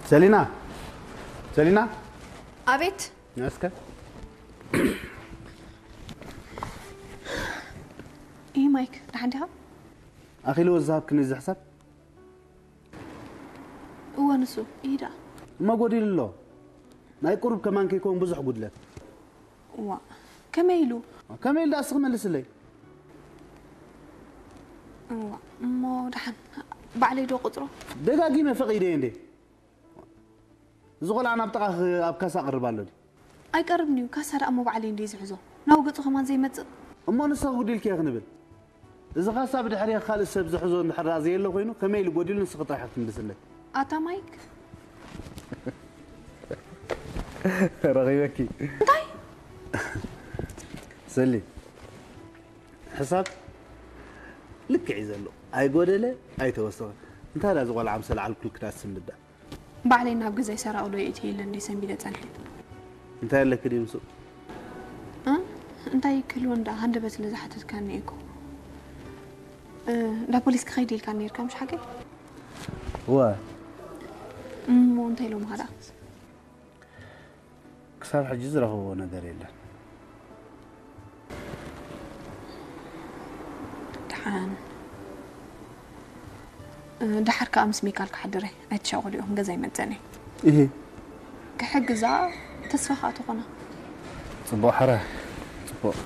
ሰሊና፣ ሰሊና፣ ኣቤት። እስከ ይህ ማይክ ደሓን ዲኻ? ኣኺልዎ ዝሃብክኒ እዚ ሕሳብ? እወ ንሱ ይዳ እሞ ጎዲሉ ኣሎ። ናይ ቁሩብ ከማን ከይከውን ብዙሕ ጉድለት። እዋ ከመይ ኢሉ? ከመይ ኢሉ ደኣ እስኺ መልስለይ። እዋ እሞ ደሓን ባዕለይ ዶ ቁፅሮ? ደጋጊመ ፈቒደየ እንዴ። እዚ ቆልዓ ናብ ጥቓኺ ኣብ ካሳ ኣቕርብ ኣሎ ድዩ? ኣይቀርብን እዩ። ካሳ ደኣ እሞ ባዕለይ እንዴ ዝሕዞ ናብ ገፁ ከማን ዘይመፅእ። እሞ ንስኺ ጉዲልኪ እየ ክንብል። እዚ ካሳ ብድሕሪ ካልእ ሰብ ዝሕዞ እንድሕር ደኣ ዘየሎ ኮይኑ ከመይ ኢሉ ጎዲሉ ንስኺ ጥራሕ ክትምልስለይ። ኣታ ማይክ ረኺበኪ። እንታይ? ሰሊ ሕሳብ ልክዕ እዩ ዘሎ። ኣይጎደለ ኣይተወሰኸ። እንታይ ደኣ እዚ ቆልዓ ምስ ኣልዓልኩልኪ ደኣ ስምዳ? ባዕለይ ናብ ገዛይ ሰራቑ ዶ የእትየ ኢለ እንዲ ሰንቢደ ጸኒሐ። እንታይ ኣለኪ ድዩ ምስኡ? እ? እንታይ ክህልዎ እንዳ ሃንደበት ስለ ዝሓተትካኒ እኮ። እ፣ እንዳ ፖሊስ ክኸይድ ኢልካ ነይርካ ምሽ ሓቀይ? እወ። እሞ እንታይ ኢሎምኻ ደኣ? ክሳብ ሕጂ ዝረኸብዎ ነገር የለን። ደሓን። እ፣ ደሓር ከኣ ምስ ሚካል ክሓድር እየ። ኣይትሻቐሉ ኢኹም፣ ገዛ ይመጸኒ። እሂ። ክሕግዛ ተስፋ ከኣ ትኾና። ጽቡቕ ሓራ፣ ጽቡቕ።